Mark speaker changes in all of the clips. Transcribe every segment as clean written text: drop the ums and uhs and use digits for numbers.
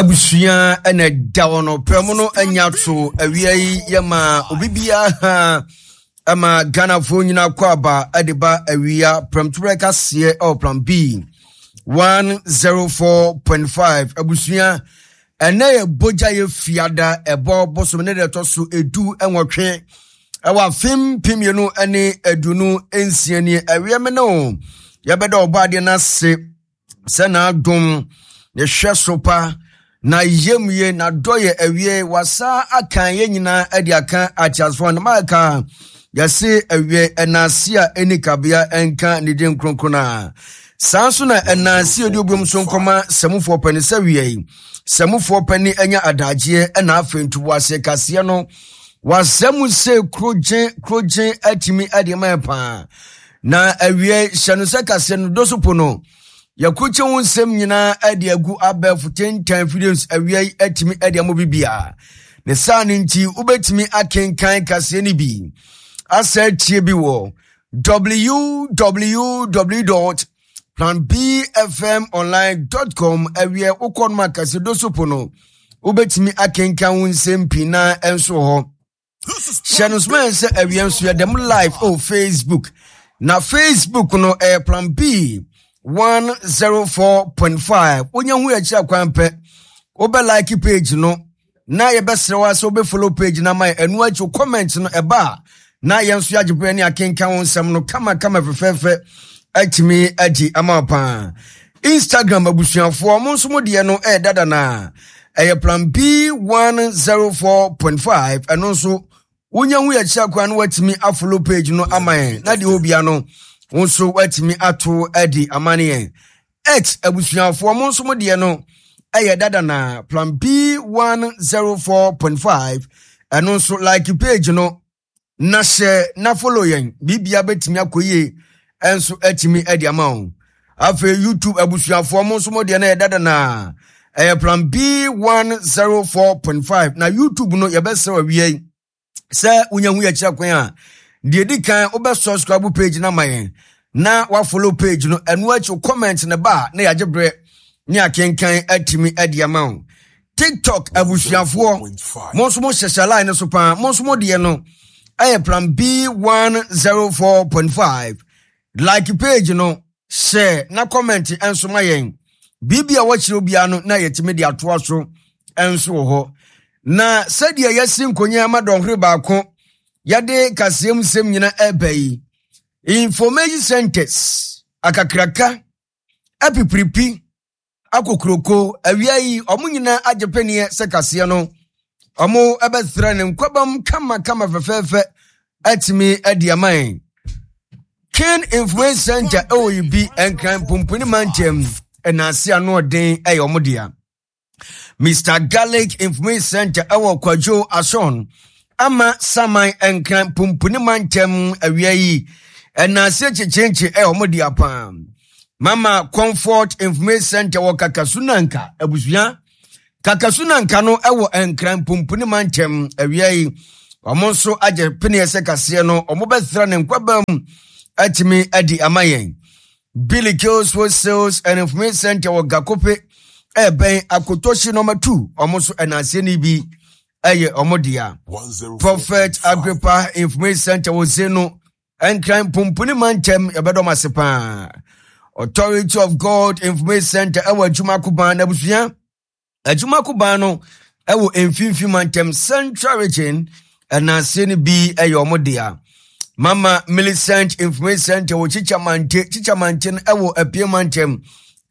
Speaker 1: Abusua na ɛda hɔ no prɛ mu no anya to awia yi yɛma obi biara ha ɛma Ghanafoɔ nyinaa kɔ aba ɛde ba awia prɛmtoberɛ kaseɛ ɛwɔ plan B 104.5 abusua ɛnɛ yɛ bogya yɛ fiada ɛbɔ bosom ne deɛ ɛtɔ so 18 ɛwɔ afe 2026 nie awia me ne o yɛbɛda ɔbɔ adeɛ no ase sɛ n'adom ne hwɛ so pa na yamye n'adɔ yɛ awie wasa akan yɛn nyinaa de aka ateasefoɔ no maaka yɛse awie ɛnaase a ɛni kabea ɛnka ne din kronkron a saa nso na ɛnaase ɛdi obiom so nkɔma sɛmufoɔ pɛne sɛ wie yi sɛmufoɔ pɛne anya adagyeɛ ɛna afei ntoboaseɛ kaseɛ no wasɛ mu sɛ kurogye kurogye atumi ɛde ma paa Na awiei, hyɛ no sɛ kaseɛ no do so po no, yɛkrukye ho nsɛm nyinaa de agu abɛɛfo tentan afidie nso awiei atumi de ama biribiara. Ne saa no nti, wobɛtumi akenkan kaseɛ no bi asa atie bi wɔ www.planbfmonline.com awiɛ wokɔ no ma kaseɛ do so po no, wobɛtumi akenkan wo nsɛm pii na nso wɔ hɔ. Hyɛ no soma sɛ awia nso yɛ dɛm live oh Facebook na Facebook no ɛyɛ plan B 104.5 wonya hu akyiri akwan pɛ wobɛ like page no na yɛbɛsrɛ wa sɛ wobɛ follow page no ama yɛ ɛno akyi comment no ɛba a na yɛn nso yɛagye berɛ ne akenkan wo nsɛm no kama kama fɛfɛɛfɛ atumi agye ama paa Instagram abusuafoɔ mo nso mo deɛ no ɛyɛ dada na ɛyɛ plan B 104.5 ɛno nso wonya hu yɛkyerɛ kwan no watumi afollow page no ama yɛn na deɛ obia no wo nso watumi ato adi ama ne yɛn X abusuafoɔ mo nso mo deɛ no ɛyɛ dada na plan B 104.5 ɛno nso like page no na hyɛ na follow yɛn biribia bɛtumi akɔ yie nso atumi adi ama wo afei youtube abusuafoɔ mo nso mo deɛ no yɛ dada na ɛyɛ plan b 104.5 na youtube no yɛbɛsrɛ awie yi sɛ wonya hu yɛkyerɛ kwan a deɛ di kan wobɛ subscribe page no ama yɛn na wafollow page no ɛno akyi comment no ba a na yɛagye berɛ ne akenkan atumi adi ama wo tiktok abusuafoɔ mo nso mo hyehyɛ line no so paa mo nso mo deɛ no ɛyɛ plan b 104.5 like page no share na comment nso ma yɛn biribi a wɔkyerɛ obiara no na yɛtumi de atoa so nso wɔ hɔ na sɛdeɛ yɛasi nkonya ama dɔnhwere baako yɛde kaseɛm nsɛm nyina ɛba yi information centers akakraka apipiripi akokuroko awia yi ɔmo nyinaa agye peneɛ sɛ kaseɛ no ɔmo ɛbɛsrɛ ne nkwabam kamakama fɛfɛɛfɛ atumi adi ama yɛn King Influence Center ɛwɔ yi bi nkran pumpuni mantam ɛnaase ano ɔden ɛyɛ ɔmo dea Mr. Garlic Information Center ɛwɔ Kwadwo Ason ama Saman Nkran Pumpuni Mantam awia yi ɛnaase kyekyerekye ɛyɛ wɔn dea paa Mama Comfort Information Center wɔ Kakasunanka abusua Kakasunanka no ɛwɔ Nkran Pumpuni Mantam awia yi wɔn nso agye peneɛ sɛ kaseɛ no wɔn bɛsra ne nkwabam atumi adi ama yɛn Billy Kills Wholesales and Information Center wɔ Gakope ɛbɛn Akotohyi nɔma 2 wɔn nso ɛnanseɛ no bi ɛyɛ wɔn dea. Prophet Agrippa Information Center wɔ Zeno Nkran Pumpuni Mantam yɛbɛdɔm ase paa. Authority of God Information Center ɛwɔ Adwuma Koban n'abusua. Adwuma koban no wɔ mfimfini mantam Central Region ɛnanse no bi yɛ wɔn dea. Mama Millicent Information Center wɔ Chichamante, Chichamante no wɔ Apue mantam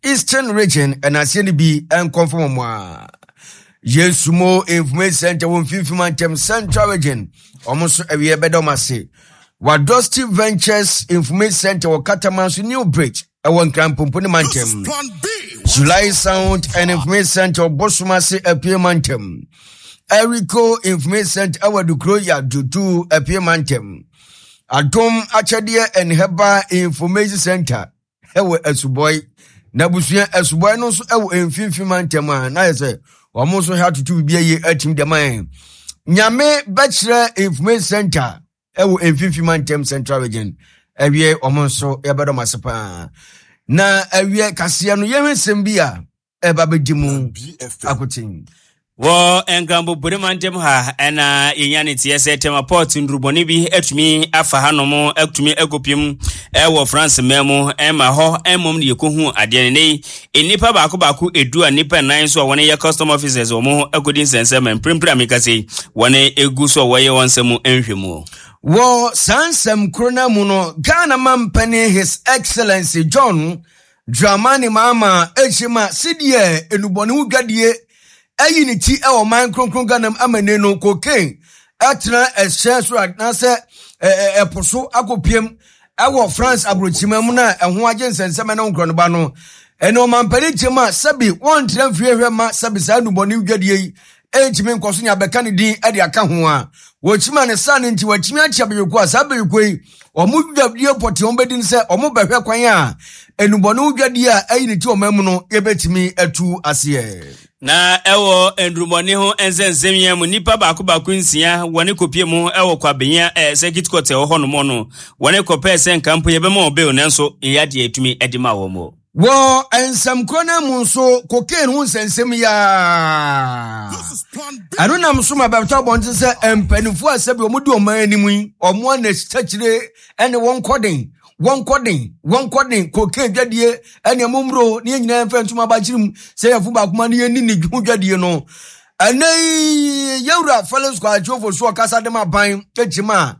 Speaker 1: Eastern Region ɛnanse no bi nkɔmfam wɔn a. Yesu Mo Information Center wɔ mfimfini mantam Central Region wɔn nso awie bɛda wɔn ase. Wadosti Ventures Information Center wɔ Katamanso New Bridge ɛwɔ Nkrampompo ne mantam. July Sound and Information Center ɔbosom ase apue mantam. Eriko Information Center ɛwɔ Adukuro Yadutu apue mantam. Adom Akyɛdeɛ and Herbal Information Center ɛwɔ Asubɔe. Na abusua Asubɔe no nso ɛwɔ mfimfini mantam a na yɛ sɛ wɔn nso ha tutu biribi ayie atim dɛm ayɛ. Nyame bɛkyerɛ Information Center ɛwɔ mfimfini mantam central region ɛwiɛ wɔn nso yɛbɛdɔm ase paa na ɛwiɛ kaseɛ no yɛhwɛ nsɛm bi a. ɛba bɛdi mu akoten.
Speaker 2: Wɔ Nkranbo Borima ntam ha na yɛnya ne teɛ sɛ Tema Port nnurubɔne bi atumi afa hanom atumi akɔpiem wɔ France man mu ma hɔ mmom ne yɛkɔhu adeɛ no. Nnɛ yi nnipa baako baako edu a nnipa nnan nso a wɔn yɛ custom officers wɔn ho akɔdi nsɛnsɛm ma mprempren a meka sɛ yi wɔn egu so a wɔyɛ wɔn nsɛm mu nhwɛmu.
Speaker 1: Wɔ saa nsɛm koro no mu no, Ghana mampanin His Excellency John Dramani Mahama akyiri ma sedeɛ nnubɔne ho dwadie ayi ne ti wɔ ɔman kronkron Ghana mu ama nnɛ no cocaine atena ɛhyɛn so anaasɛ ɛpo so akɔpiem ɛwɔ France aburokyima mu na ɛho agye nsɛnsɛm ɛne nkorɔnoba no ɛne ɔmampanin kyɛm a sɛbi wɔntra mfie hwɛ ma sɛbi saa nnubɔne dwadie yi ɛntumi nkɔ so nea bɛka ne din de aka ho a wɔkyima ne saa no nti wɔatumi akyia bɛyɛkuo a saa bɛyɛkuo yi wɔn dwadie pɔtee wɔn bɛdi no sɛ wɔn bɛhwɛ kwan a nnubɔne ho dwadie a ayi ne ti wɔn mu no yɛbɛtumi atu aseɛ.
Speaker 2: Na ɛwɔ nnurubɔne ho nsɛnsɛm yi mu nnipa baako baako nsia wɔne kɔpie mu ɛwɔ Kwabenya eh, circuit court ɛwɔ hɔ nom no wɔne kɔpɛɛ sɛ nka mpo yɛbɛma wɔn bail nanso yɛyɛ adeɛ ɛtumi ɛde ma wɔn o.
Speaker 1: Wɔ nsɛm korɔ no mu nso, cocaine ho nsɛnsɛm yi ara. Ɛno nam so ma bɛtɔ abɔnten sɛ mpanimfoɔ a sɛbi wɔn di ɔman anim yi, wɔn a na akyire ne wɔn kɔden, wɔn kɔden, wɔn kɔden, cocaine dwadie ɛne ɛmo mmuro ne yɛn nyinaa mfa ntoma abakyere mu sɛ yɛfo baako ma ne yɛn ni ne ho dwadie no. Ɛnɛ yi yɛwura Felix Kwakye Ofosu ɔkasa de ma ban kyima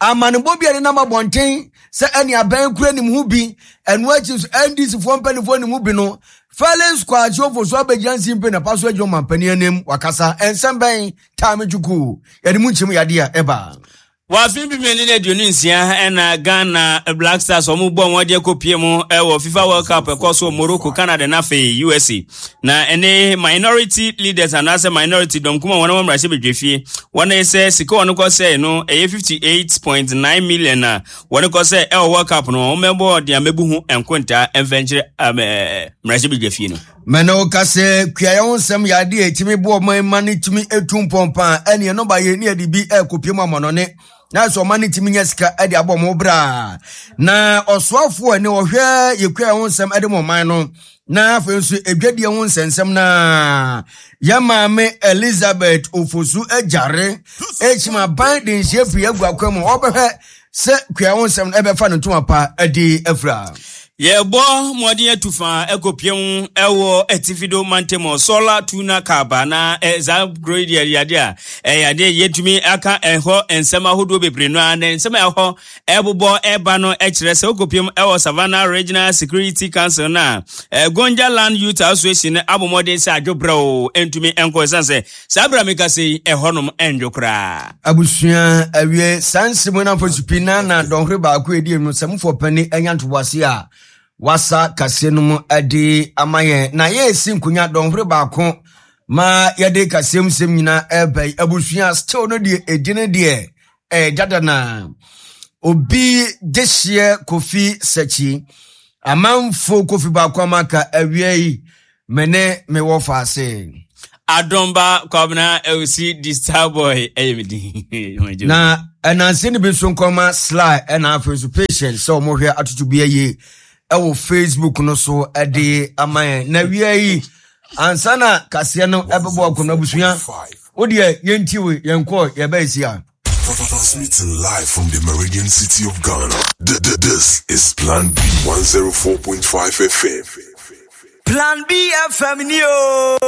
Speaker 1: a amanebɔ bi a ɛde nam abɔnten sɛ ɛne abɛn kura nim ho bi ɛno akyi nso ndc foɔ mpanimfoɔ nim ho bi no Felix Kwakye Ofosu abɛgyina nsimpe na pa so agyina ɔmampanin anim wakasa nsɛm bɛn taame twuku yɛde mu nkyɛmu yadeɛ a ɛba.
Speaker 2: Wɔ afe 2026 ɛna Ghana Black Stars wɔn bɔ wɔn de akɔpie mu ɛwɔ FIFA World Cup ɛkɔ so Morocco, Canada na afei USA. Na ɛne minority leaders anaasɛ minority dɔm kuma wɔn wɔn mmarahyɛ badwafie wɔn sɛ sika wɔn kɔ sɛ no ɛyɛ 58.9 million a wɔn kɔ sɛ ɛwɔ World Cup no wɔn mɛbɔ deɛ mɛbu ho nkontaa mfɛnkyerɛ mmarahyɛ badwafie no.
Speaker 1: Mɛne wo ka sɛ kuayɛ ho nsɛm yɛ adeɛ a ɛtumi boa ɔman ma no tumi tu mpɔn paa ɛne ɛno ba yɛ ne yɛde bi ɛrekɔpie mu amɔnɔne na sɛ ɔman no tumi nya sika de abɔ ɔmo bra na ɔsoafoɔ ne ɔhwɛ yɛ kuayɛ ho nsɛm de ma ɔman no na afei nso adwadie ho nsɛnsɛm na yɛ maame Elizabeth Ofosu Agyare ɛkyim aban de nhyia pii agu akwan mu ɔbɛhwɛ sɛ kua ho nsɛm no ɛbɛfa no ntoma pa adi afira.
Speaker 2: Yɛbɔ mmɔden atu fa ɛkɔpia mu ɛwɔ atifido mantam Sɔla Tuna Kaba na saa kuro yi deɛ yadeɛ a ɛyɛ adeɛ yɛtumi aka ɛhɔ nsɛm ahodoɔ bebree no ara na nsɛm a ɛhɔ ɛbobɔ ɛba no ɛkyerɛ sɛ wokɔpia mu ɛwɔ Savannah Regional Security Council no a Gonja Land Youth Association no abɔ mmɔden sɛ adwobrɛ o ɛntumi ɛnkɔ ɛsiane sɛ Saa bere a mekasa yi, ɛhɔnom nnwo koraa.
Speaker 1: Abusua awie saa nsɛm yi no pii na na dɔnhwere baako a ɛdi no sɛmfoɔ panin anya ntoboase a wasa kaseɛ no mu de ama yɛn na yɛresi nkonya dɔnhwere baako ma yɛde kaseɛ mu sɛm nyinaa ɛreba yi abusua still no deɛ ɛdi no deɛ ɛyɛ dada na obi dehyeɛ kofi sɛkyi amanfo kofi baako amaka awia yi Me ne me wɔ faase.
Speaker 2: Adomba Kwabena Ewusi di Starboy ɛyɛ me din.
Speaker 1: Na ɛnanse no bi nso nkɔma Sly ɛna afei nso patient sɛ wɔn hwɛ atoto bi ayie ɛwɔ Facebook no so ɛde ama yɛn. Na wia yi ansa na kaseɛ no ɛbɛbɔ akɔnɔ abusua wo deɛ yɛnti we yɛn kɔ yɛbɛyɛ si a.
Speaker 3: Transmitting live from the Meridian City of Ghana. This is Plan B 104.5 FM.
Speaker 1: Plan B FM ni o.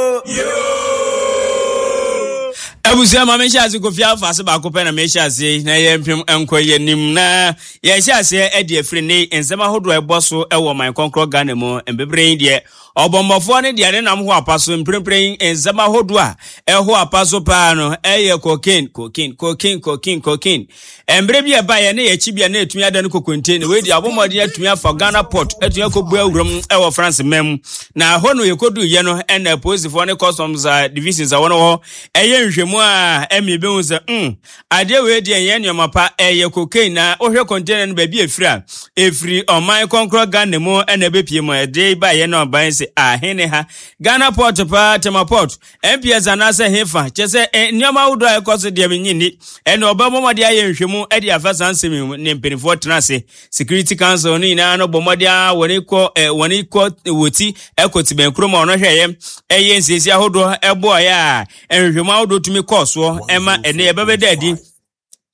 Speaker 2: Abusua ma mehyɛ ase kofi afa ase baako pɛ na mehyɛ ase na yɛ mpem nkɔ yɛ nim na yɛhyɛ aseɛ ɛde afiri ne nsɛm ahodoɔ ɛbɔ so ɛwɔ man kɔnkorɔ Ghana mu mbebree yi deɛ ɔbɔmmɔfoɔ ne deɛ ne nam ho apa so mprempren nsɛm ahodoɔ a ɛho apa so paa no ɛyɛ cocaine cocaine cocaine cocaine cocaine Mmerɛ bi a ɛbaeɛ na yɛakyi bi a na ɛtumi ada no kokonte na wei deɛ abɔ mmɔden atumi afa Ghana port atumi akɔbu awuram wɔ France man mu na ɛhɔ no yɛkɔduiɛ no ɛna apolisifoɔ ne customs divisions a wɔn wɔ ɛyɛ nhwɛmu a ɛmi bɛhu sɛ mm adeɛ wei deɛ nyɛ nneɛma pa ɛyɛ cocaine na wohwɛ container no baabi ɛfiri a ɛfiri ɔman kɔnkorɔ Ghana mu ɛna ɛbɛpie mu ɛde baeɛ no aban sɛ se ahe ne ha Ghana port paa Tema port MPS anaasɛ hefa kyɛ sɛ eh, nneɛma ahodoɔ a ɛkɔ so deɛ menye nni ɛne ɔbɛbɔ mmɔden ayɛ nhwɛmu de afa saa nsɛm yi mu ne mpanimfoɔ tena ase Security Council no nyinaa no bɔ mmɔden a wɔne kɔ eh, wɔne kɔ wɔ ti ɛkɔ tibɛn kurom a ɔno hwɛeɛ ɛyɛ nsiesie ahodoɔ ɛboaeɛ a nhwehwɛmu ahodoɔ tumi kɔɔ soɔ ɛma ɛne ɛbɛbɛda adi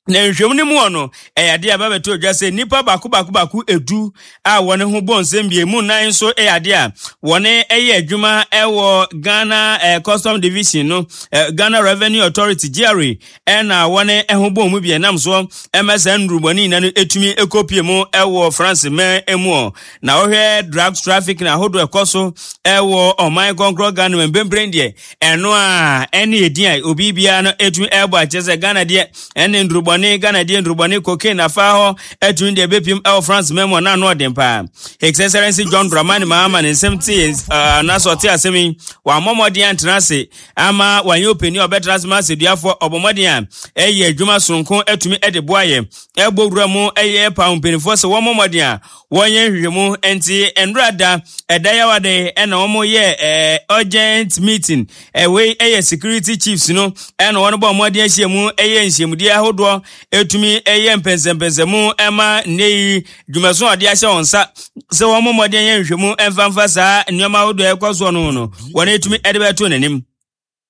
Speaker 2: Na nhwehwɛmu no mu wɔ no, ɛyɛ adeɛ a ɛbɛbɛto dwa sɛ nnipa baako baako baako edu a wɔn ho bɔ nsɛm bie mu nnan nso yɛ adeɛ a wɔn yɛ adwuma wɔ Ghana eh, Custom Division no, eh, Ghana Revenue Authority GRA ɛna wɔn ho bɔ mu bi ɛnam soɔ ɛma saa nnurubɔne nyinaa no etumi ekopie mu ɛwɔ France mɛ mu ɔ. Na wɔhwɛ drugs trafficking ahodoɔ ɛkɔ so ɛwɔ ɔman kɔnkorɔ Ghana mu mpempren deɛ Ɛno a ɛne edin a obi biara no etumi ɛbɔ akyerɛ sɛ Ghana deɛ ɛne ndurubɔne, Ghana deɛ ndurubɔne, cocaine afa hɔ ɛtumi deɛ ɛbɛpiem ɛwɔ France mɛmu a na ano ɔden paa. His Excellency John Dramani Mahama ne nsɛm te anaasɛ ɔte asɛm yi, wammɔ mmɔden antena ase ama wanyɛ ɔpanin a ɔbɛtena ase ma asɛduafoɔ, ɔbɔ mmɔden a ɛyɛ adwuma soronko atumi de boa yɛ, ɛbɔ wura mu ɛyɛ paw mpanimfoɔ sɛ wɔmmɔ mmɔden a Wɔnyɛ nhwehwɛmu nti nnora da ɛda yawa de ɛna wɔn yɛ ɛɛ urgent meeting ɛwei ɛyɛ security chiefs no ɛna wɔn bɔ wɔn adeɛ ahyia mu ɛyɛ nhyiamudie ahodoɔ ɛtumi ɛyɛ mpɛnsɛmpɛnsɛmu ɛma nnɛ yi dwumaso a wɔde ahyɛ wɔn nsa sɛ wɔn mmɔden yɛ nhwehwɛmu ɛmfa mfa saa nneɛma ahodoɔ ɛkɔ soɔ no no wɔn ɛtumi ɛde bɛto n'anim.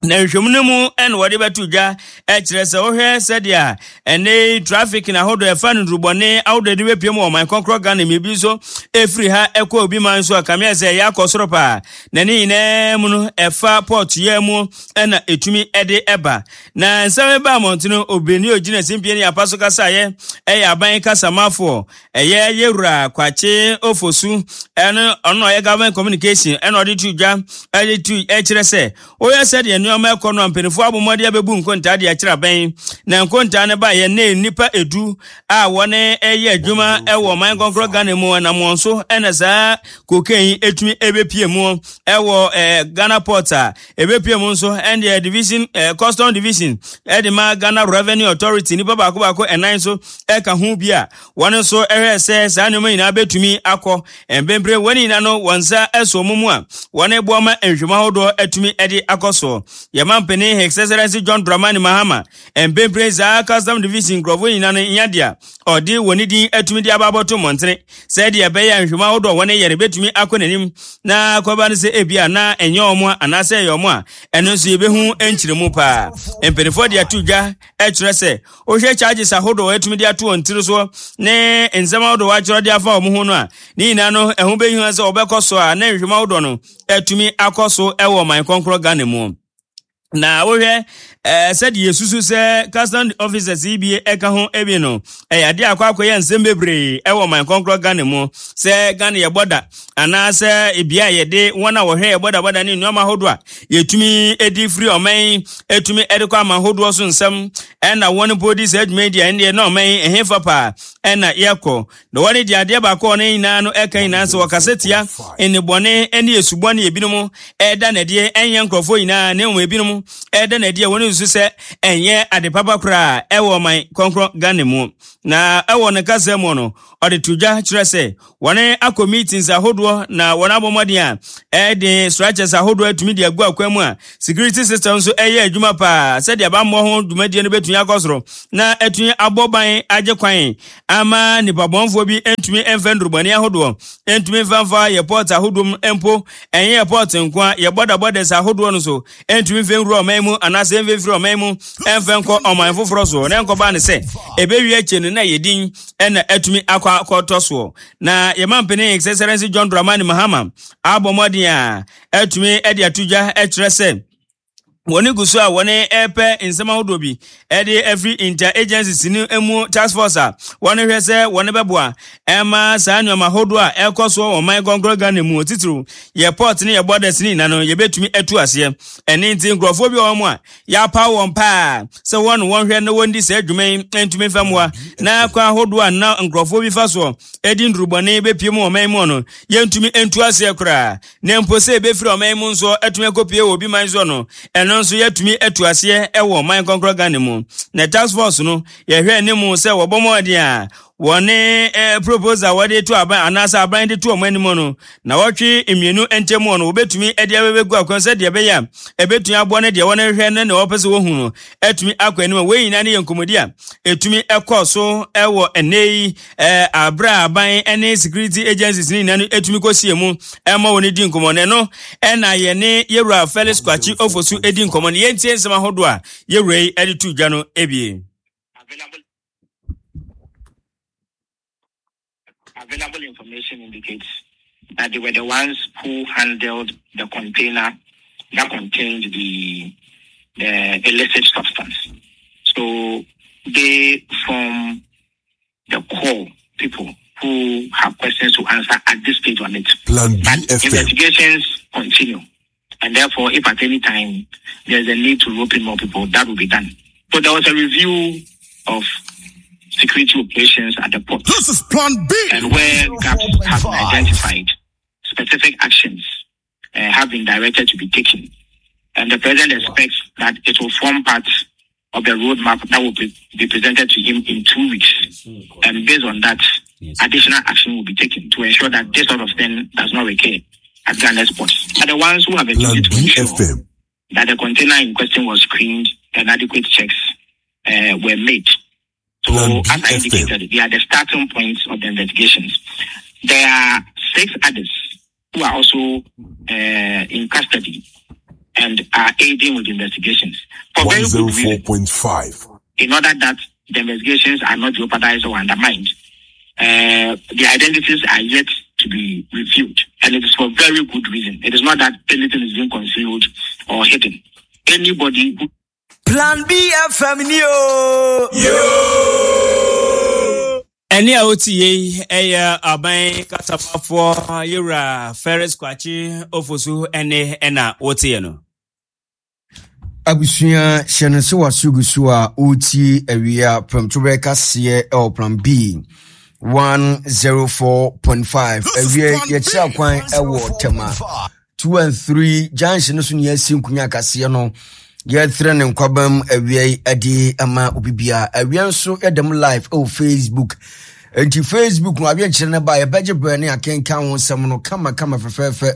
Speaker 2: Na nhwehwɛmu no mu na wɔde bɛto dwa kyerɛ sɛ wohwɛ sɛdeɛ ɛnɛ traffic na ahodoɔ ɛfa no nnurubɔne ahodoɔ de bɛpiem wɔ ɔman kɔnkorɔ Ghana mu ebi nso ɛfiri ha ɛkɔ obi man so a kameɛ sɛ ɛyɛ akɔ soro paa na ne nyinaa mu no ɛfa port yɛ mu ɛna ɛtumi ɛde ɛba na nsɛm ɛba mmɔntene obìnrin ogyina simpie ne apa so kasaeɛ ɛyɛ aban kasamafoɔ Ɛyɛ Yewura Kwakye Ofosu ɛno ɔno ɔyɛ government communication ɛna ɔde to dwa ɛde to ɛkyerɛ sɛ woyɛ sɛdeɛ nneɛma ɛkɔ no a mpanimfoɔ abɔ mmɔden abɛbu nkontaa de akyerɛ abɛn na nkontaa no baeɛ ne nnipa edu a wɔne ɛyɛ adwuma ɛwɔ ɔman kɔnkorɔ Ghana mu ɛnam wɔn so ɛna saa cocaine yi ɛtumi ɛbɛpie mu ɛwɔ ɛɛ Ghana port a ɛbɛpie mu nso ɛndeɛ division ɛɛ custom division ɛde ma Ghana Revenue Authority nnipa baako baako ɛnan so ɛka ho bi a Wɔn nso hwɛɛ sɛ saa nneɛma nyinaa bɛtumi akɔ. Mprempren wɔn nyinaa no wɔn nsa asɔ wɔn mu a wɔreboa ma nhwehwɛmu ahodoɔ atumi de akɔ soɔ. Yɛn mampanin His Excellency John Dramani Mahama, mprempren saa Custom Division nkurɔfoɔ nyinaa no nya deɛ ɔde wɔn din atumi de aba abɔto mmɔntene sɛdeɛ ɛbɛyɛ a nhwehwɛmu ahodoɔ a wɔyɛ no bɛtumi akɔ n'anim na akɔba no sɛ ebia na ɛnyɛ wɔn a anaasɛ ɛyɛ wɔn a ɛno nso yɛbɛhu nkyerɛmu paa. Mpanimfoɔ de ato dwa kyerɛ sɛ Wohwɛ charges ahodoɔ a wɔatumi de ato wɔn tiri soɔ ne nsɛm ahodoɔ wɔatwerɛ de afa wɔn ho no a, ne nyinaa no ɛho bɛhia sɛ wɔbɛkɔ so a na nhwehwɛmu ahodoɔ no atumi akɔ so wɔ ɔman kɔnkorɔ Ghana mu. Na wohwɛ ɛɛ sɛdeɛ yɛsusu sɛ custom officers yi bi ɛka ho bi no, ɛyɛ adeɛ akɔ akɔyɛ nsɛm bebree ɛwɔ ɔman kɔnkorɔ Ghana mu sɛ Ghana yɛ bɔda anaasɛ ebia yɛde wɔn a wɔhwɛ yɛ bɔdabɔda ne nneɛma ahodoɔ a yɛtumi di firi ɔman yi ɛtumi de kɔ aman ahodoɔ so nsɛm ɛna wɔn mpo di saa adwuma yi deɛ ɛndeɛ na ɔman yi ɛhefa paa ɛna yɛkɔ na wɔn deɛ adeɛ baako a wɔn nyinaa no ɛka nyinaa sɛ wɔkasa tia nnebɔne ne esubɔne ebinom ɛda n'adie ɛnyɛ nkurɔfoɔ nyinaa na mmom ebinom ɛda n'adie wɔn nso sɛ ɛnyɛ ade papa koraa ɛwɔ ɔman kɔnkrɔn Ghana mu na ɛwɔ ne kasa mu no ɔde to dwa kyerɛ sɛ Wɔn akɔ meetings ahodoɔ na wɔn abɔ mmɔden a ɛde structures ahodoɔ atumi de agu akwan mu a security system nso ɛyɛ adwuma paa sɛdeɛ bammɔ ho dwumadie no bɛtumi akɔ soro na atumi abɔ ban agye kwan ama nipa bɔnfoɔ bi ntumi mfa nnurubɔne ahodoɔ ntumi mfa mfa yɛ port ahodoɔ mu mpo ɛnyɛ yɛ port nko a yɛ border borders ahodoɔ no so ntumi mfa nwura ɔman mu anaasɛ mfa mfiri ɔman mu mfa nkɔ ɔman foforɔ so na nkɔba ne sɛ ɛbɛwie akyire no na yɛ din ɛna atumi akɔ akɔtɔ soɔ na yɛma mpanin His Excellency John Dramani Mahama abɔ mmɔden a atumi de ato dwa kyerɛ sɛ wɔn gu so a wɔn repɛ nsɛm ahodoɔ bi de afiri inter-agencies no mu task force a wɔn hwɛ sɛ wɔn bɛboa ɛma saa nneɛma ahodoɔ a ɛkɔ soɔ wɔ ɔman kɔnkɔn Ghana mu titiriw yɛ port ne yɛ borders ne nyinaa no yɛbɛtumi atu aseɛ ɛne nti nkurɔfoɔ bi wɔ wɔn a Yɛapaw wɔn paa sɛ wɔn wɔnhwɛ na wɔndi saa dwuma yi ntumi mfa mmoa na kwan ahodoɔ a na nkurɔfoɔ bi fa soɔ di nnurubɔne bɛpue mu ɔman mu no, yɛntumi ntu aseɛ koraa. Na mpo sɛ ɛbɛfiri ɔman mu nso atumi akɔpue wɔ obi man soɔ no, ɛno nso yɛatumi atu aseɛ wɔ ɔman kɔnkorɔ Ghana mu. Na task force no, yɛhwɛ anim sɛ wɔbɔ mmɔden a. Wɔne eh, proposal wɔde to aban anaasɛ aban de to wɔn anim no, na wɔtwe mmienu ntam no, wɔbɛtumi de abɛbɛgu akwan sɛdeɛ ɛbɛyɛ a ɛbɛtumi aboa no deɛ wɔhwehwɛ ne nea wɔpɛ sɛ wɔhu no atumi akɔ anim. Wei nyinaa ne yɛ nkɔmmɔdi a ɛtumi kɔ so wɔ ɛnnɛ yi aberɛ a aban ne security agencies ne nyinaa no ɛtumi kɔsie mu ɛma wɔn di nkɔmmɔ no. Ɛno ɛna yɛne yɛwura Felix Kwakye Ofosu di nkɔmmɔ no. Yɛntie nsɛm ahodoɔ a yɛwura yi de to dwa no ebie.
Speaker 4: Available information indicates that they were the ones who handled the container that contained the, the illicit substance. So they form the core people who have questions to answer at this stage on it.
Speaker 3: Plan B
Speaker 4: But
Speaker 3: FM.
Speaker 4: investigations continue. And therefore, if at any time there's a need to rope in more people, that will be done. So there was a review of security operations at the port.
Speaker 3: This is Plan B.
Speaker 4: And where gaps have been identified, specific actions have been directed to be taken. And the president expects that it will form part of the roadmap that will be presented to him in 2 weeks. And based on that, additional action will be taken to ensure that this sort of thing does not recur at Ghana's ports. Are the ones who have a
Speaker 3: Plan
Speaker 4: duty to
Speaker 3: B
Speaker 4: ensure
Speaker 3: FM.
Speaker 4: that the container in question was screened and adequate checks were made. So,
Speaker 3: Plan
Speaker 4: as I
Speaker 3: B FM.
Speaker 4: indicated, they are the starting points of the investigations. There are 6 others who are also in custody and are aiding with investigations. For very good reason,
Speaker 3: 104.5.
Speaker 4: in order that the investigations are not jeopardized or undermined, the identities are yet to be revealed. And it is for very good reason. It is not that anything is being concealed or hidden. Anybody who
Speaker 1: Plan B FM ni o.
Speaker 2: Ɛne a wotie yi ɛyɛ aban kasafafoɔ yɛwura Ferris Kwakye Ofosu ɛne ɛna woteɛ no.
Speaker 1: Abusua hyɛ no sɛ waso gu so a wotie awia prɛmtoberɛ kaseɛ ɛwɔ Plan B 104.5. Awia yɛkyerɛ kwan ɛwɔ Tema 2 and 3 junction no so ne yɛasi nkonya kaseɛ no. Yɛtrɛ ne nkwabam awia yi ade ama obi bia. Awia nso yɛda mu live ɛwɔ Facebook. Enti Facebook no awie nkyerɛ no ba yɛbɛgye brɛ ne akenka ho nsɛm no kama kama fɛfɛɛfɛ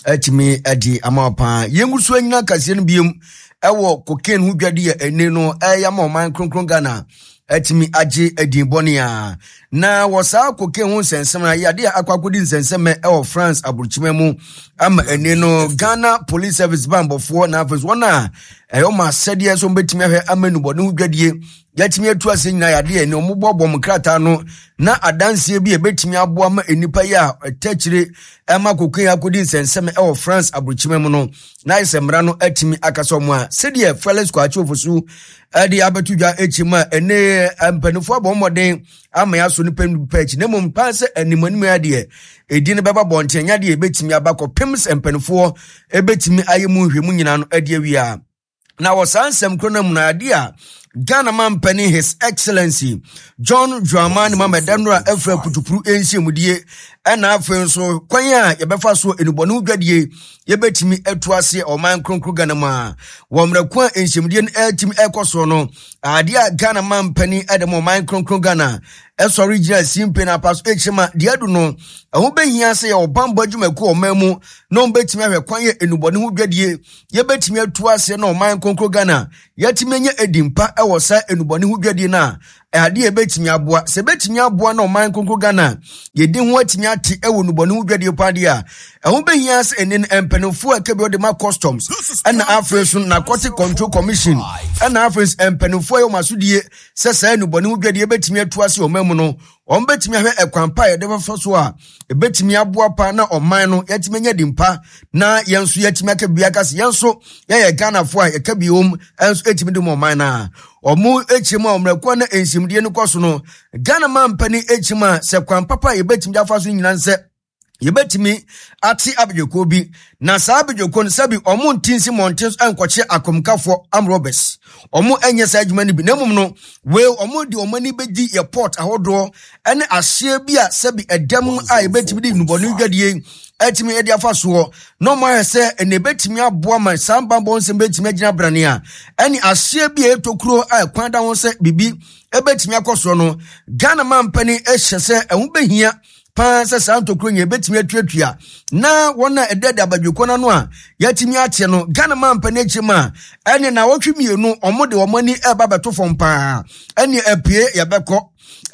Speaker 1: atumi ade ama paa. Yɛngu so anyina kaseɛ no biom ɛwɔ cocaine ho dwade a ɛne no ɛyɛ ama ɔman kronkron Ghana atumi agye adin bɔne a. Na wɔ saa cocaine ho nsɛnsɛm na yɛade a akɔ akɔdi nsɛnsɛm ɛwɔ France aburokyima mu ama ɛne no Ghana Police Service bambɔfoɔ na afei wɔn a ɛyɛ ɔmo asɛdeɛ nso wɔbɛtumi ahwɛ ama nnubɔne ho dwadie yɛatumi atu ase nyinaa yɛade a ɛne ɔmo bɔbɔ mo krataa no na adanseɛ bi a ɛbɛtumi aboa ma nnipa yi a ɛtɛ akyire ɛma cocaine akɔdi nsɛnsɛm ɛwɔ France aburokyima mu no na ayɛ sɛ mmara no atumi akasa ɔmo a sɛdeɛ Felix Kwakye Ofosu ɛde abɛto dwa akyi mu a ɛne mpanimfoɔ abɔ mmɔden ama yɛaso nipa nipa akyi na mmom paa sɛ anim anim adeɛ ɛdi no bɛba bɔnten nya deɛ ɛbɛtumi aba kɔpem sɛ mpanimfoɔ ɛbɛtumi ayɛ mu nhwɛmu nyinaa no adi awia. Na wɔ saa nsɛm koro no mu no adeɛ a Ghana mampanin His Excellency John Dramani Mahama Danora afra kutupuru nhyiamudie ɛna afei nso kwan a yɛbɛfa so enubɔne ho dwadie yɛbɛtumi atu ase ɔman kronkron Ghana mu a wɔ mmerɛ ko a nhyiamudie no ɛtumi ɛkɔ soɔ no adeɛ a Ghana mampanin ɛde ma ɔman kronkron Ghana ɛsɔre gyina simpe na apa so ɛkyerɛ ma deɛ adu no ɛho bɛhia sɛ yɛwɔ bambɔ adwumakuo ɔman mu na wɔn bɛtumi ahwɛ kwan yɛ enubɔne ho dwadie yɛbɛtumi atu ase na ɔman kronkron Ghana yɛtumi anya edi mpa ɛwɔ saa enubɔne ho dwadie no a adeɛ ɛbɛtumi aboa sɛ ɛbɛtumi aboa na ɔman kronkron Ghana yɛdi ho atumi ate ɛwɔ enubɔne ho dwadie paa deɛ a ɛho bɛhia sɛ ɛne no mpanimfoɔ a ɛka bi ɔde ma customs ɛna afei nso narcotic control commission ɛna afei nso mpanimfoɔ a ɛwɔ asodie sɛ saa enubɔne ho dwadie bɛtumi atu ase ɔman mu no wɔn bɛtumi ahwɛ ɛkwan pa a yɛde bɛfa so a ɛbɛtumi aboa pa na ɔman no yɛtumi anya di mpa na yɛn nso yɛtumi aka bi aka sɛ yɛn nso yɛyɛ Ghanafoɔ a yɛka bi wɔm nso ɛtumi de mu ɔman no a wɔn akyiri mu a wɔn na nsimdie no kɔ so no Ghana man mpanin akyiri mu a sɛ kwan papa a yɛbɛtumi de afa so nyinaa sɛ Yɛbɛtumi ate abadwakuo bi, na saa abadwakuo no sɛbi ɔmo nte nsi mmɔnten so nkɔkye akomkafoɔ armed robbers. Ɔmo nyɛ saa adwuma no bi, na mmom no, wei ɔmo de ɔmo ani bɛdi yɛ port ahodoɔ ne ahyeɛ bi a sɛbi ɛdɛm a yɛbɛtumi de nnubɔne dwadie atumi de afa soɔ, na ɔmo ayɛ sɛ ɛna ɛbɛtumi aboa ma saa bammɔ nsɛm bɛtumi agyina brane a ɛne ahyeɛ bi a ɛyɛ tokuro a ɛkwan da ho sɛ biribi ɛbɛtumi akɔ soɔ no. Ghana mampanin hyɛ sɛ ɛho bɛhia paa sɛ saa ntokuro nyɛ bɛtumi atuatua na wɔn a ɛdɛdɛ abadwokɔ no ano a yɛatumi ate no. Ghana mampanin akyi mu a ɛne na wɔtwe mmienu wɔn de wɔn ani ɛreba bɛto fam paa, ɛne apue yɛbɛkɔ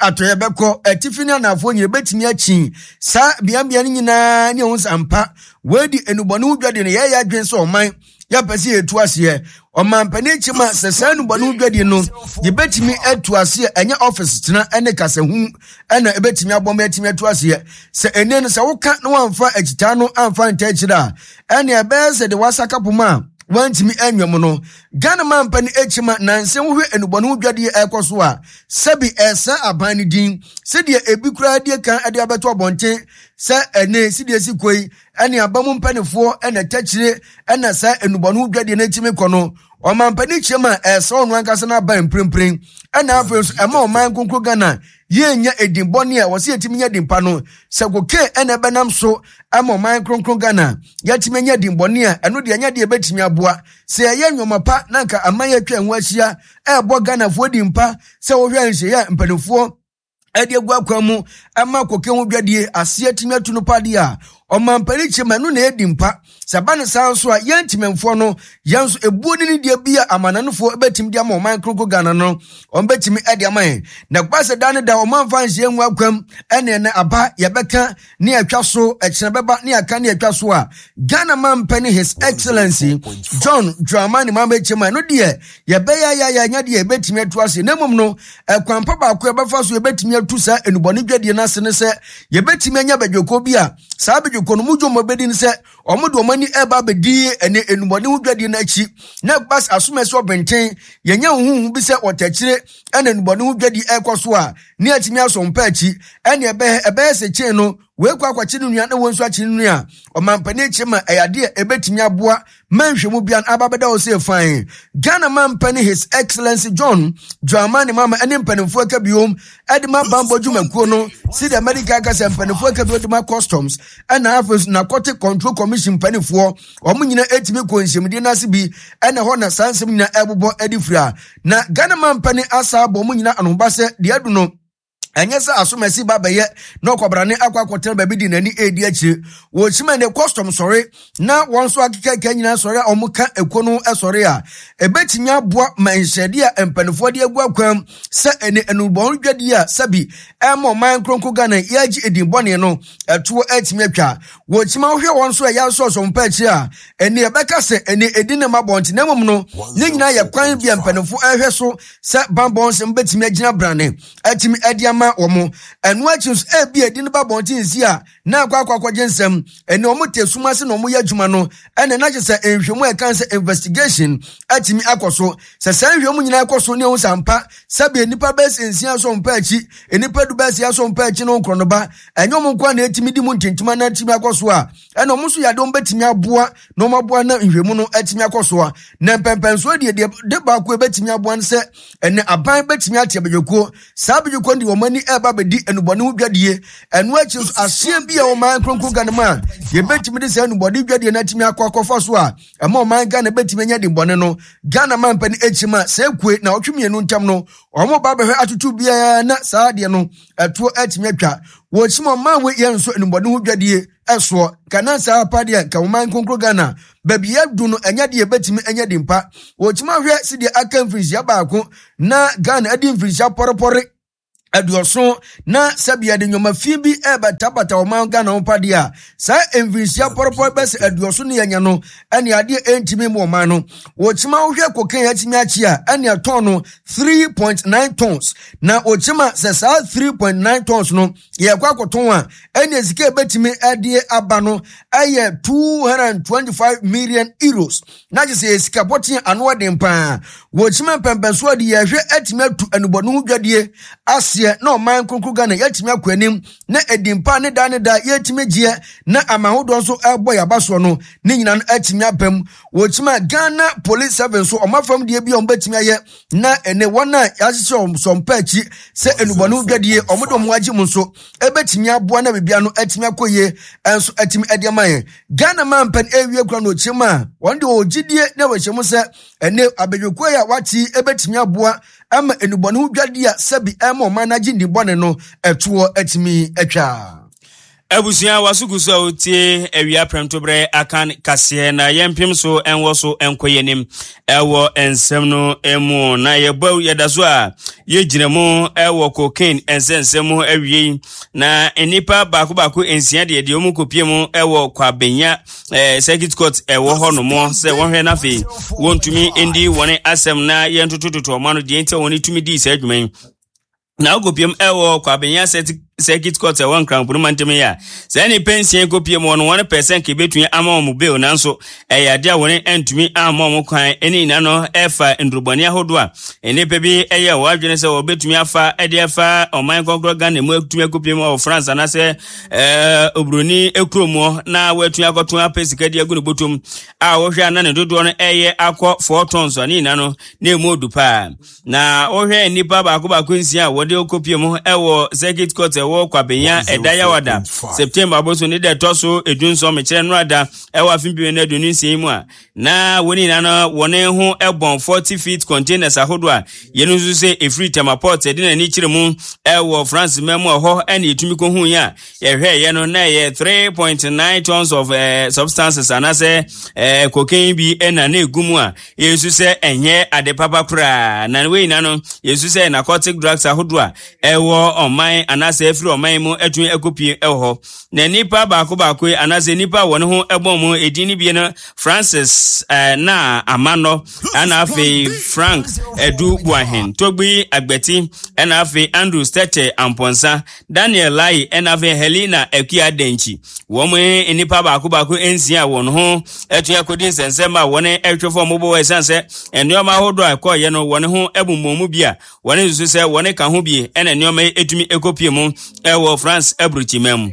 Speaker 1: atɔ yɛbɛkɔ atifi ne anaafoɔ nyina bɛtumi akyi saa beambea no nyinaa ne ɛho sɛ ampa wɔadi enubɔne ho dwadi no. Yɛyɛ adwene sɛ ɔman yɛpɛ sɛ yɛtu aseɛ ɔmampanin kyim a sɛ saa nnubɔne ho dwadi no yɛbɛtumi atu aseɛ, ɛnyɛ ɔfis tena ne kasahu ɛna ɛbɛtumi abɔ ma yɛatumi atu aseɛ. Sɛ ɛnɛ no sɛ woka na wamfa akyitaa no amfa nta akyire a, ɛne ɛbɛyɛ sɛ de wasaka poma a wantumi anwa mu no. Ghana mampanin akyim a nansa wohwɛ nnubɔne ho dwadie ɛkɔ so a, sɛbi ɛsɛ aban no din sɛdeɛ ebi koraa die kan de abɛto abɔnten sɛ ɛne sɛdeɛ si kɔ yi ɛne aba mu mpanimfoɔ ɛna ɛtɛkyire ɛna saa nnubɔne ho dwadie no atumi kɔ no. Ɔmampanin kyerɛ mu a ɛsɛ ɔno ankasa no aba mprempren, ɛna afei nso ɛma ɔman nkonkro Ghana yɛnya edin bɔne a wɔsɛ yɛtumi nya din pa no. Sɛ kokain ɛna ɛbɛnam so ama ɔman kronkron Ghana yɛatumi anya din bɔne a, ɛno deɛ ɛnyɛ deɛ ɛbɛtumi aboa. Sɛ yɛyɛ nneɛma pa na nka aman yɛatwa ɛho ahyia ɛrebɔ Ghanafoɔ din pa sɛ wohwɛ nhyehyɛeɛ a mpanimfoɔ ɛde agu akwan mu ɛma koke ho dwadie aseɛ atumi atu no padeɛ a ɔmampanin kyɛ ma ɛno na ɛdi mpa. Sɛ ɛba ne saa nso a, yɛn ntemamfoɔ no yɛn nso ebuo ne ne deɛ bi a amananofoɔ bɛtumi de ama ɔman kronkron Ghana no, wɔn bɛtumi de ama yɛn. Na ɛkɔba sɛ da ne da wɔn amfa nhyɛ ngu akwam ɛne ɛnɛ aba yɛbɛka ne atwa so, ɛkyerɛ bɛba ne aka ne atwa so a, Ghana mampanin His Excellency John Dramani Mahama kyɛ ma ɛno deɛ yɛbɛyɛ ayɛ anya deɛ yɛbɛtumi atu ase. Na mmom no, ɛkwan pa baako a yɛbɛfa so yɛbɛtumi atu saa enubɔne dwadie no ase ne sɛ yɛbɛtumi anya badwoko bi a saa badwoko no mu dwom bɛdi ne sɛ wɔn de wɔn ani ɛreba abɛdi ɛne enubɔne ho dwadie no akyi, na bas asomasi ɔbɛnten yɛnya huhu bi sɛ wɔtɛkyire ɛna enubɔne ho dwadie ɛrekɔ so a ne atumi asɔ mpa akyi, ɛne ɛbɛyɛ ɛbɛyɛ sɛ kyɛn no wei kɔ akɔkye ne nua na wɔn nso akye ne nua. Ɔmampanin akyi ma ɛyɛ adeɛ ɛbɛtumi aboa ma nhwɛmu bia no aba bɛda hɔ sɛ fan. Ghana mampanin His Excellency John Dramani Mahama ne mpanimfoɔ aka biom de ma bammɔ dwumakuo no sɛdeɛ Amerika aka sɛ mpanimfoɔ aka bio de ma customs ɛna afei nso Narcotic Control Commission mpanimfoɔ wɔn nyinaa ɛtumi kɔ nhyiamudie no ase bi, ɛna hɔ na saa nsɛm nyinaa ɛbobɔ de firi a na Ghana mampanin asa abɔ wɔn nyinaa anoba sɛ deɛ adu no ɛnyɛ sɛ asomasi ba bɛyɛ na ɔkwabrane akɔ akɔtena baabi de n'ani redi akyire. Wɔkyima ne custom sɔre na wɔn nso akekaka nyinaa sɔre a wɔka ekuo no sɔre a, ɛbɛtumi aboa ma nhyɛdeɛ a mpanimfoɔ de agu akwan sɛ ɛne enubɔn dwadie a sɛbi ɛma ɔman kronkron Ghana yɛagye edin bɔne no ɛtoɔ atumi atwa. Wɔkyima wohwɛ wɔn nso a ɛyɛ asɔsɔ mpa akyire a, ɛne ɛbɛka sɛ ɛne edin na ɛma bɔnte na mmom no ne nyinaa yɛ kwan bi a mpanimfoɔ ɛhwɛ so sɛ bammɔ nsɛm bɛtumi agyina brane atumi de ama wɔn. Ɛno akyi nso, ebi a edi no ba abɔnten si a na akɔ akɔ akɔgye nsɛm. Ɛne wɔn te sum ase na wɔyɛ adwuma no, ɛna na kyerɛ sɛ nhwehwɛmu a ɛka sɛ investigation atumi akɔ so. Sɛ saa nhwehwɛmu nyinaa kɔ so ne ehu sɛ ampa sɛbi nnipa bɛyɛ sɛ nsia asɔ mpa akyi, nnipa du bɛyɛ sɛ asɔ mpa akyi no nkorɔ no ba, ɛnyɛ wɔn nko a na etumi di mu ntintima na atumi akɔ so a, ɛna wɔn nso yɛ ade wɔn bɛtumi aboa na wɔn aboa na nhwehwɛmu no atumi akɔ so a. Na mpɛmpɛnsoɔ deɛ deɛ de baako ebɛtumi aboa no sɛ ɛnɛ aban bɛtumi ate abadwakuo. Saa abadwakuo no de wɔn ani ɛreba abɛdi nnubɔne ho dwadie. Ɛno akyi nso aseɛ bi a ɔman kronkron Ghana mu a yɛbɛtumi de saa nnubɔne dwadie no atumi akɔ akɔfa so a ɛma ɔman Ghana bɛtumi anya dimmɔne no. Ghana mampani akyi ma sɛ ekue na ɔtwe mmienu ntam no wɔn ba bɛhwɛ atoto biara na saa adeɛ no ɛtoɔ atumi atwa. Wɔkyim ɔman wei yɛn nso nnubɔne ho dwadie ɛsoɔ nka na saa apa deɛ nka ɔman kronkron Ghana baabi yɛadu no ɛnyɛ deɛ ɛbɛtumi anya di mpa. Wɔkyim ahwɛ sɛdeɛ aka mfirinhyia baako na Ghana adi mfirinhyia pɔrepɔre 70 na sɛbi yɛde nneɛma fi bi ɛbɛtabata ɔman Ghana ho pa deɛ a, saa mfirinhyia pɔrepɔre bɛsɛ 70 ne yɛnya no ɛne adeɛ ɛntumi mu ɔman no. Wɔkyima wohwɛ kokain atumi akyi a, ɛne ɛtɔn no 3.9 tons, na wɔkyima sɛ saa 3.9 tons no yɛkɔ akɔtɔn a, ɛne sika ɛbɛtumi ɛde aba no ɛyɛ 225 million euros, na kyerɛ sɛ yɛ sika pɔten ano ɔden paa. Wɔkyima mpɛmpɛnsoɔ de yɛhwɛ atumi atu anubɔne ho dwadie aseɛ. aseɛ na ɔman kronkron Ghana yɛatumi akɔ anim na edin pa ne da ne da yɛtumi gyeɛ na aman ahodoɔ nso ɛrebɔ yɛn aba soɔ no ne nyinaa no atumi aba mu. Wɔkyima Ghana Police Service nso ɔma fam deɛ bi a wɔbɛtumi ayɛ na ɛne wɔn a yɛahyehyɛ wɔn sɔmpa akyi sɛ nnubɔne ho dwadie wɔn de wɔn agye mu nso ɛbɛtumi aboa na biribiara no atumi akɔ yie nso atumi ɛde ama yɛn. Ghana man mpɛn ɛrewie kura no ɔkyerɛ mu a wɔn de wɔn gyidie na wɔhyɛ mu sɛ ɛne abadwakuo yi a wɔate yi ɛbɛtumi aboa ama nnubɔne ho dwadie a sɛbi ɛma ɔman no agye nnibɔne no ɛtoɔ atumi atwa.
Speaker 2: Abusua waso gu so a wotie awia prɛmtoberɛ akan kaseɛ na yɛmpem so ɛnwɔ so ɛnkɔ yɛnim ɛwɔ nsɛm no mu na yɛbɔ yɛda so a yɛgyina mu ɛwɔ cocaine nsɛnsɛm mu awiei na nnipa baako baako nsia deɛ deɛ wɔn kɔpie mu ɛwɔ Kwabenya circuit court ɛwɔ hɔ nom sɛ wɔhwɛ no afei wɔntumi ndi wɔn asɛm na yɛntotototo ɔma no deɛ nti a wɔn tumi dii saa adwuma yi na wokɔpiem ɛwɔ Kwabenya circuit court ɛwɔ Nkranpono mantam yi a saa nnipa nsia kɔpiem wɔ no wɔn pɛ sɛ nka ɛbɛtumi ama wɔn bail, nanso ɛyɛ adeɛ a wɔn antumi amma wɔn kwan. Ɛne nyina no ɛfa nnurubɔne ahodoɔ a nnipa bi ɛyɛ wɔn adwene sɛ wɔbɛtumi afa ɛde afa ɔman kɔnkorɔ Ghana mu atumi akɔpiem wɔ France anaasɛ oburoni kurom na wɔatumi akɔto apɛ sika de agu ne bɔtɔm a wɔhwɛ a na ne dodoɔ no ɛyɛ akɔ 4 tons a ne nyina no na ɛmu odu paa. Na wohwɛ nnipa baako baako nsia a wɔde kɔpie mu wɔ circuit court ɛwɔ Kwabenya ɛda Yawada September aboso ne da ɛtɔ so 17, mekyerɛ nnora ɛwɔ afe 2026 mu a, na wɔn nyinaa no wɔn ho bɔn 40 feet containers ahodoɔ a yɛn nso sɛ ɛfiri Tema port ɛde n'ani kyerɛ mu ɛwɔ France ma mu ɛhɔ ɛna yɛtumi kɔhu yi a yɛhwɛ yɛ no na ɛyɛ 3.9 tons of substances anaasɛ cocaine bi ɛna na ɛgu mu a yɛsu sɛ ɛnyɛ ade papa koraa. Na wei nyinaa no yɛsu sɛ narcotic drugs ahodoɔ a ɛwɔ ɔman anaasɛ ɛfiri ɔman mu atumi akɔpie ɛwɔ hɔ. Na nipa baako baako yi anaasɛ nipa a wɔne ho ɛbɔn mu edin no bie no Francis na Amanɔ, ɛna afei Frank Edu Buahen, Togbi Agbeti, ɛna afei Andrew Stete Amponsa, Daniel Lai, ɛna afei Helena Akua Denkyi. Wɔn nnipa baako baako nsia a wɔn ho atumi akɔdi nsɛnsɛm a wɔn ɛhwɛ fam bɔ wɔ ɛsiane sɛ nneɛma ahodoɔ a ɛkɔɔyɛ no wɔn ho abummɔn mu bi a wɔn nso sɛ wɔn ka ho bi ɛna nneɛma yi etumi ekopie mu ɛwɔ France aburukyima mu.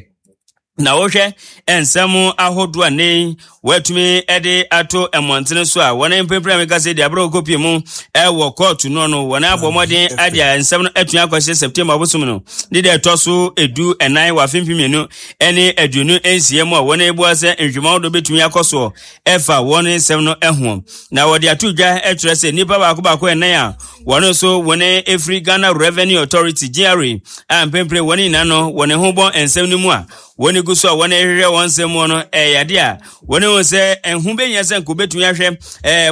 Speaker 2: Na wohwɛ nsɛm ahodoɔ a ne wɔatumi de ato mmɔntene so a wɔn mpempere a meka sɛ de aberɛ kɔpie mu ɛwɔ kɔɔto no wɔn abɔ mmɔden ade a nsɛm no atumi akɔhyɛ September bosom no ne deɛ ɛtɔ so 14 wɔ afe 2026 mu a wɔn ebua sɛ nhwehwɛmu ahodoɔ bɛtumi akɔ soɔ ɛfa wɔn nsɛm no ho. Na wɔde ato dwa kyerɛ sɛ nnipa baako baako ɛnan a wɔn nso wɔn efiri Ghana Revenue Authority GRA a mpempere wɔn nyinaa no wɔn ho bɔ nsɛm no mu a wɔn gu so a wɔn rehwehwɛ wɔn nsɛm mu no, ɛyɛ ade a wɔn ho sɛ ɛho bɛnya sɛ nka wɔbɛtumi ahwɛ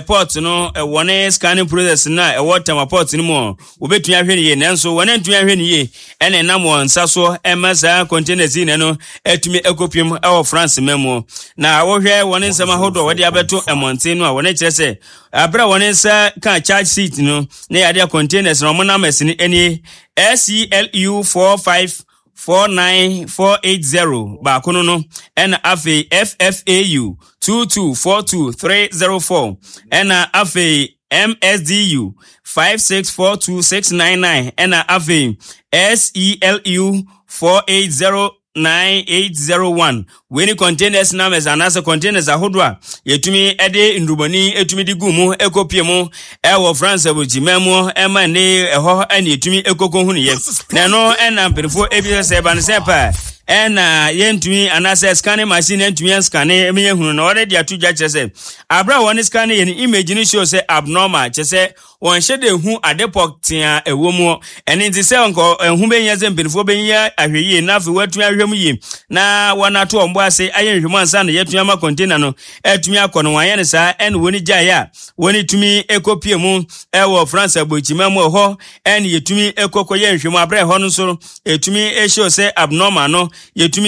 Speaker 2: port no wɔn scanning process no a ɛwɔ Tema port no mu, wɔbɛtumi ahwɛ no yie, nanso wɔn antumi ahwɛ no yie ɛna ɛnam wɔn nsa so ɛma saa containers yi na no atumi akɔpiem ɛwɔ France ma mu. Na wɔhwɛ wɔn nsɛm ahodoɔ a wɔde abɛto mmɔnten no a wɔn kyerɛ sɛ abere a wɔn nsa ka charge sheet no na yɛade containers na wɔn numbers no nie: SELU 4549480 baako no, ɛna afei FFAU 2242304, ɛna afei MSDU 5642699, ɛna afei SELU 4809801. Wei ne containers numbers anaasɛ containers ahodoɔ a yɛtumi de nnurubɔni etumi de gu mu ekopie mu ɛwɔ France aburokyima mu ɛma ne ɛhɔ ɛna yɛtumi ekoko hu ne yɛ. Na ɛno ɛna mpanyinfoɔ ebi sɛ ɛba ne sɛ paa ɛna yɛntumi anaasɛ scanning machine yɛntumi scanning ɛmi yɛn hunu. Na wɔde de ato dwa kyerɛ sɛ abere a wɔn scanning yɛ no, image no show sɛ abnormal, kyerɛ sɛ wɔnhyɛ de hu ade pɔtee a ɛwɔ mu. Ɛne nti sɛ nka ɛho bɛhia sɛ mpanimfoɔ bɛnya ahwɛ yie na afei wɔatumi ahwɛ mu yie na wɔn ato wɔn bo ase ayɛ nhwɛmu ansa na yɛatumi ama container no atumi akɔ no. Wɔanyɛ no saa ɛne wɔn gyaeɛ a wɔn tumi kɔpie mu ɛwɔ France aburokyima mu ɛhɔ ɛne yɛtumi kɔkɔyɛ nhwɛmu aberɛ ɛhɔ no nso ɛtumi show sɛ abnormal no yɛtumi.